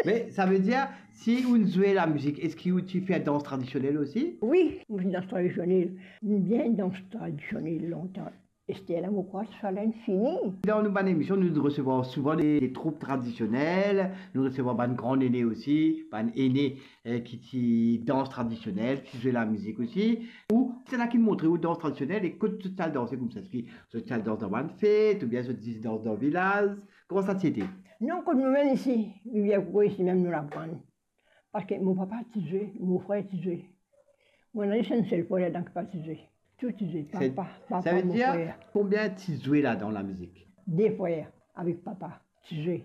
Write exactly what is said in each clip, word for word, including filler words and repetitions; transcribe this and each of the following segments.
Me savedir, si ou zwe lamizik, eski ou ti fer dans tradisionel osi? Wi, mo ti dans tradisionel. Mo bien dans tradisionel lontan. Ester la, mo krwar sa la inn fini. Dan nou bann emision, nou resevwar souvan de, de troup tradisionel, nou resevwar bann gran nene osi, bann ene, eh, ki ti dans tradisionel, ki zwe lamizik osi. Ou, kisannla ki montre ou dans tradisionel e kot zot ti al danse koumsa? Eski zot ti al dans dan bann fet, oubien zot zis dans dan vilaz? Kouma sa ti ete? Non, kot nou mem isi, Rivier Koko, isi mem nou aprann. Parski mo papa ti zwe, mo frer ti zwe. Mo ena zis enn sel frer ladan ki pa ti zwe. Tou ti zwe, papa, papa, mo frer. Savedir, konbien ti zwe ladan lamizik? De frer avek papa ti zwe,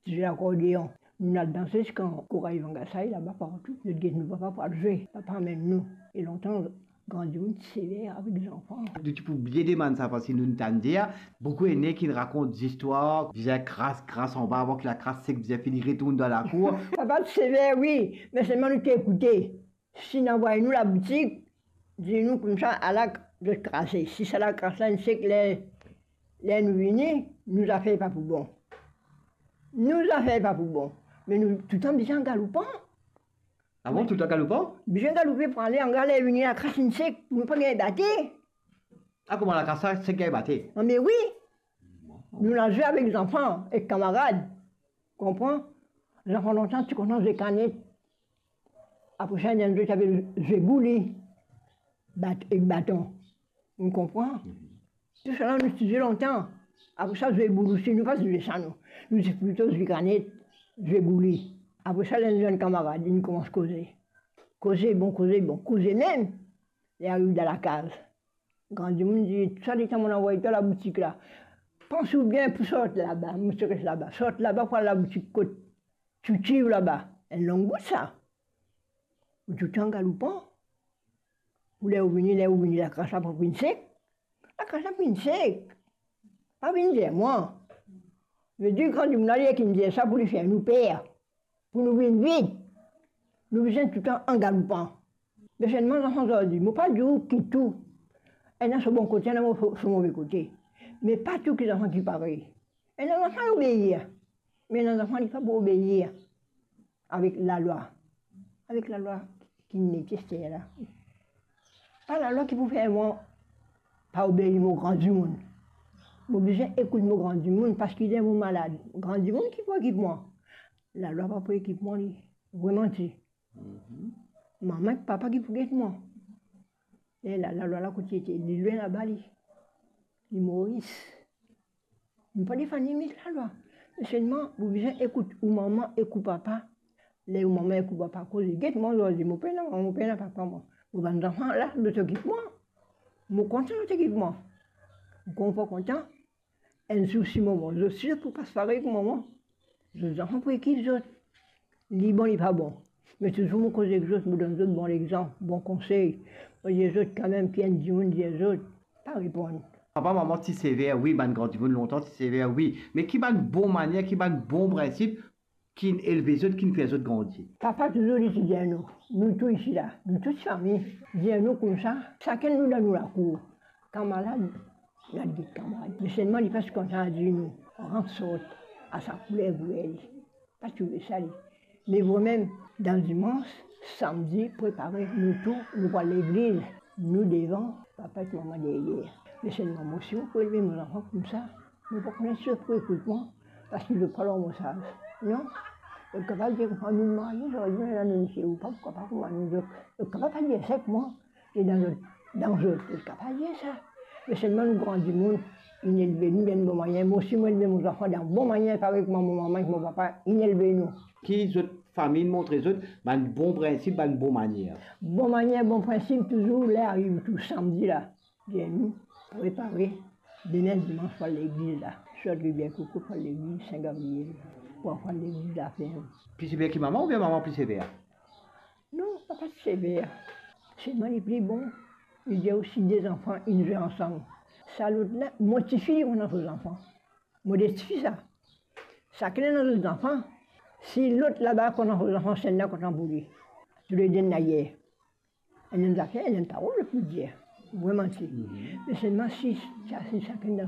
ti zwe lakordeon. Nou al danse ziska koray Vangasay laba partou. Zot get nou papa pou al zwe, papa amenn nou. E lontan, gran dimoun ti sever avek zanfan. Nou ti pou blie demann sa, parski nou tann dir, boukou ene ki rakont zistwar, bizin kras, kras anba, avan ki lakras sek, bizin fini retourn dan lakour. Papa ti sever, wi, me selman nou ti ekoute. Si inn anvway nou laboutik, dir nou koumsa, ala, zot krase. Si sa lakras la inn sek, ler, ler nou vini, nou zafer pa pou bon. Nou zafer pa pou bon. Me nou toutan bizin galoupan. Ah bon, toutan galoupan? Bizin galoupe pou ale, angar ler vini lakras inn sek, pou nou pa gagn bate. Ah, kouma lakras la sek gagn bate? Ah, me wi. Nou al zwe avek zanfan, ek kamarad. Konpran? Zanfan lontan ti kontan zwe kanet. Apre sa, ena zot ti apel zwe bouli. Bat-, ek baton. Ou konpran? Mhm. Tou sa la, nou ti zwe lontan. Apre sa, zwe bouli osi, nou pa zwe sa, nou. Nou ti plito zwe kanet, zwe bouli. Apre sa, ler nou enn kamarad, li koumans koze. Koze, bon, koze, bon, koze mem. Li ariv dan lakaz. Gran dimoun dir, "Tou sa letan mo anvway twa laboutik la, panse ou bien pou sort laba, mo ti res laba. Sort laba pou al laboutik kot Tchouti laba, enn long bout sa. Ou toutan galoupan. Ou ler ou vini, ler ou vini, lakras la pa pou inn sek. Lakras la pou inn sek. Pa vinn dir mwa." Vedir gran dimoun la, li ki'nn dir sa pou li fer nou per, pou nou vinn vit. Nou bizin toutan an galoupan. Me selman zanfan zordi, mo pa dir ou ki tou. Ena so bon kote, ena so, so move kote. Me pa tou ki zanfan ki parey. Ena zanfan li obeir. Me ena zanfan li pa pou obeir avek lalwa. Avek lalwa ki inn ete ester la. Pa lalwa ki pou fer mwa pa obeir mo gran dimoun. Mo bizin ekout mo gran dimoun, parski ler mo malad, gran dimoun ki pou ekip mwa. Lalwa pa pou ekip mwa li. Vremem ti. Mhm. Mama ek papa ki pou get mwa. E la, lalwa la kot li ete? Li lwin laba li. Li Moris. Nou pa defann limit lalwa. Me selman, ou bizin ekout ou mama ek ou papa. Ler ou mama ek ou papa koze, get mwa zordi, mo pena mama, mo pena papa mwa. Mo bann zanfan la, zot ekip mwa. Mo kontan zot ekip mwa. Mo kontan, kontan. Enn zour si mo mor, zot si zot pou pas parey kouma mwa. Zot zanfan pou ekip zot. Li bon, li pa bon. Me touzour mo koze ek zot, mo donn zot bon lexanp, bon konsey. Mo dir zot kanmem, ki enn dimoun dir zot, pa reponn. Papa, mama ti sever, wi, bann gran dimoun lontan ti sever, wi. Me ki bann bon manier, ki bann bon prinsip ki'nn elve zot, ki'nn fer zot grandi? Papa touzour li ti dir nou, nou tou isi la, nou tou fami, dir nou koumsa, sakenn nou dan nou lakour, kamarad, nou al get kamarad. Me selman li pa ti kontan dir nou, rant sort, a sa kouler gouyer li. Pa trouve sa li. Me vremem, dan dimans, samdi, prepare nou tou, nou pou al legliz, nou devan, papa ek mama deryer. Me selman mo, si mo pou elve mo zanfan koumsa, mo pa kone si zot pou ekout mwa, parski zot pa lor mo saz. Non? Zot kapav dir kouma nou marye, zot dir, la nou misie, ou pa pou kapav kouma nou zot. Zot kapav pa dir sa ek mwa, e dan zot, dan zot, zot kapav dir sa. Me selman nou gran dimoun, inn elve nou dan enn bon manier. Mo osi mo elve mo zanfan dan bon manier, parey kouma mo mama ek mo papa inn elve nou. Ki zot fami inn montre zot bann bon prinsip, bann bon manier? Bon manier, bon prinsip, touzour ler ariv tou samdi la, dir nou, prepare, demin dimans pou al legliz la. Sort Rivier Koko pou al legliz Sin Gabriel, pou al legliz laferm. Pli sever ki mama oubien mama pli sever? Non, papa ti sever. Selman li pli bon. Li dir osi de zanfan inn zwe ansam. Sa lot la, mo tifi li kontan so zanfan. Mo de tifi sa. Sakenn ena zot zanfan. Si lot laba kontan so zanfan, sennla kontan pou li. Toulede ena yer. Ena enn zafer, ena enn parol pou dir. Vremem ti. Mhm. Me selman si, sa, si sakenn dan so